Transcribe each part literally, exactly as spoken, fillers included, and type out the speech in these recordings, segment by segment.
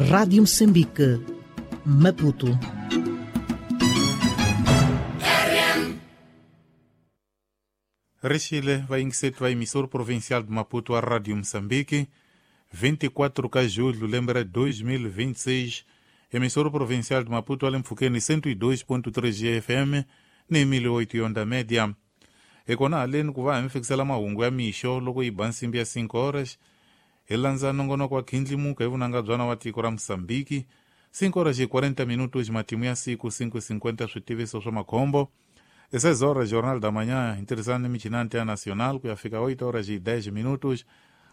Rádio Moçambique, Maputo. Rexile va yingiseti va emissor provincial de Maputo a Rádio Moçambique, vinte e quatro de julho, lembe ra dois mil e vinte e seis, emissor provincial de Maputo ali mpfhukeni cento e dois ponto três F M ni mil e oito onda média. Ekona haleni ku va hi mi fikisela mahungu ya mixo loko yi ba nsimbi ya cinco horas, hi landza nongonoko wa khindlimuka hi vunanga byana wa tiko ra Moçambique, cinco horas e quarenta minutos matimu ya siku, cinco e cinquenta switiviso swa makhombo. E seis horas, Jornal da Manhã, interessante michina Antena Nacional, ku ya fika oito horas e dez minutos,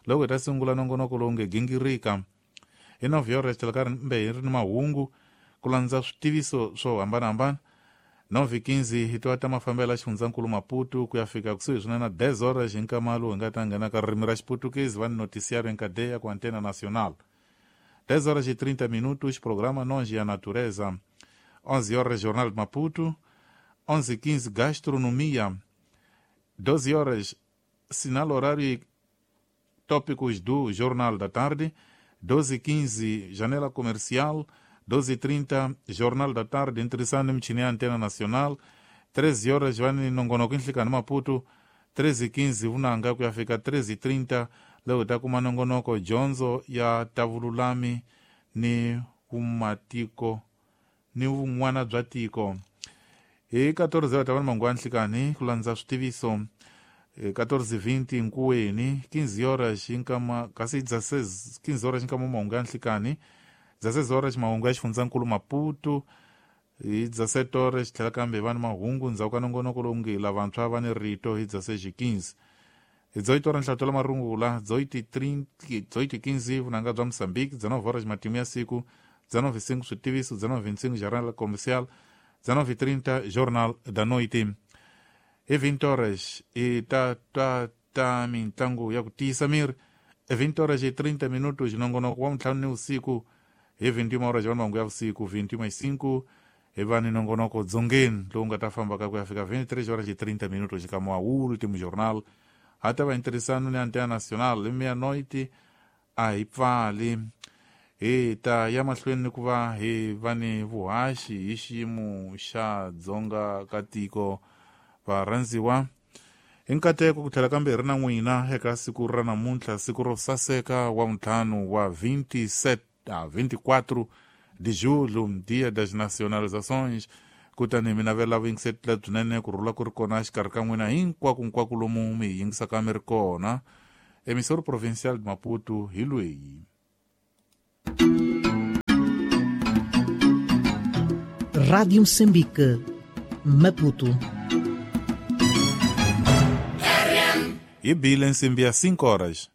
loko hi ta sungula nongonoko lowu nge gingirika. Hi nove horas tlhela mbe hi ri ni mahungu ku landza switiviso swo hambanahambana. nove e quinze hi twa ta mafambelo ya xifundzankulu Maputo ku ya fika kusuhi swinene na dez horas hi nkama lowu hi nga ta nghena ka ririmi ra Xiputukezi va ni noticiário em cadeia com Antena Nacional. dez horas e trinta minutos, programa Nós e a Natureza. onze horas, Jornal de Maputo. onze e quinze, Gastronomia. doze horas, sinal horário e tópicos do Jornal da Tarde. doze e quinze, Janela Comercial. doze e trinta, Jornal da Tarde, interessante mchini Antena Nacional. treze horas, vani nongonoko nhlikani Maputo. treze e quinze, vunanga ku ya fika treze e trinta, leo ta kuma nongonoko dyondzo ya tavululami ni vumatiko ni vun'wana bya tiko. Hi quatorze horas tava mangu ya nhlikani ku landza switiviso. quatorze e vinte nkuweni, quinze horas nkama kasi dezesseis, quinze horas nkama mahungu ya nhlikani, dezesseis horas mahungu ya xifundzankulu Maputo, hi dezessete horas tlhela kambe va ni mahungu ndzhaku ka nongonoko lowu nge lavantshwa va ni rito hi dezesseis e quinze. Hi dezoito horas nhlato la marungula, dezoito e trinta, dezoito e quinze vunanga bya Moçambique, dezenove horas matimu ya siku, dezenove e cinco switiviso, dezenove e vinte e cinco jornal comercial, dezenove e trinta Jornal da Noite. E vinte horas e ta ta ta mintlangu ya ku tiyisa miri. E vinte horas e trinta minutos nongonoko wa ntlhanu ni usiku. E vinte e uma horas va mahungu ya vusiku, vinte e uma e cinco hi va ni nongonoko dzongeni lowu nga ta famba ka ku ya fika vinte e três horas e trinta minutos ka wa último jornal. Ha ta va interessano ni Antena Nacional e meia-noite a hi pfali. Hi ta ya mahlweni ku va hi va ni vuhaxi hi xiyimo xa dzonga ka tiko varhandziwa. Hi nkateko ku tlhela kambe hi ri na n'wina eka siku ra namuntlha, siku ro saseka wa ntlhanu wa vinte e sete, ah, vinte e quatro de julho, Dia das Nacionalizações. Kutani mi navela vuyingiseti lebyinene ku rhula ku ri kona exikarhi ka n'wina hinkwakonkwako lomu mi hi yingisaka mi ri kona. Emissor Provincial de Maputo hi lweyi. Rádio Moçambique, Maputo. Hi bile nsimbi ya cinco horas.